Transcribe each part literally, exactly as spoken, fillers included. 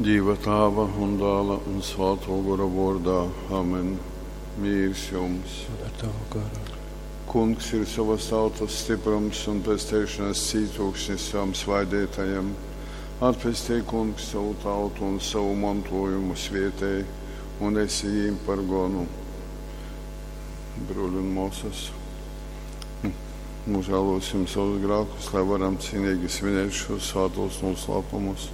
Dīva Tāva un Dāla un Svātō Gora vōrdā. Amen. Mīrs jums! Un ar tavu garu. Kungs ir sovas tautas stiprums un pesteišanas cītūksnis savam svaideitajam. Atpestej, Kungs, sovu tautu un savu mantojumu svietej un esi jīm par gonu. Bruļi un mōsas, nožēlosim savus grēkus, lai varam cienīgi svinēt šos svētos noslēpumus.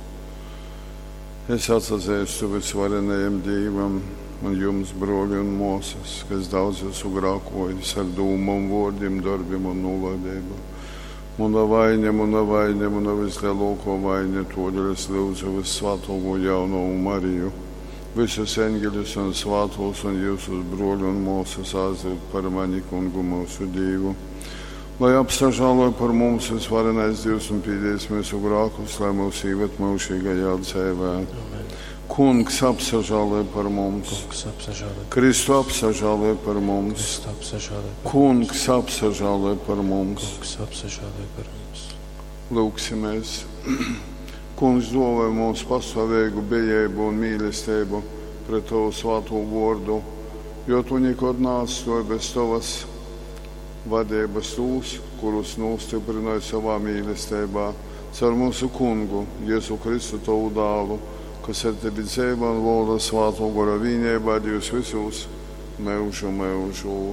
Es atsazīstu visvarenajam Dievam un jums, broļi un māsas, kas daudz esmu grēkojis ar dūmām, vārdiem, darbiem un nolaidību. Mana vaina, mana vaina, mana vislielākā vaina, todēļ es lūdzu vissvētāko jaunavu Mariju, visus eņģeļus un svētos un jūsus broļu un māsas aizlūgt par mani kungu mūsu Dievu. Lai apsažāloja par mums visvarenais Dievs un pīdīs mūsu grēkus, lai mūs ieved mūžīgajā dzīvē. Amen. Kungs apsažāloja par mums, Kungs apsažāloj. Kristu apsažāloja par mums, Kristu apsažāloj. par Kungs apsažāloja par mums. Kungs apsažāloj par mums. Lūksimies. Kungs dāvāja mums pastāvīgu bijību un mīlestību pret Tavu svēto vārdu, jo Tu nekad neatstāji bez Tavas vadības tos, kurus nostiprināji savā mīlestībā, caur mūsu Kungu, Jēzu Kristu, Tavu dēlu, kas ar Tevi dzīvo un valda Svēto Gora vienībā, Dievs visos mūžu mūžos.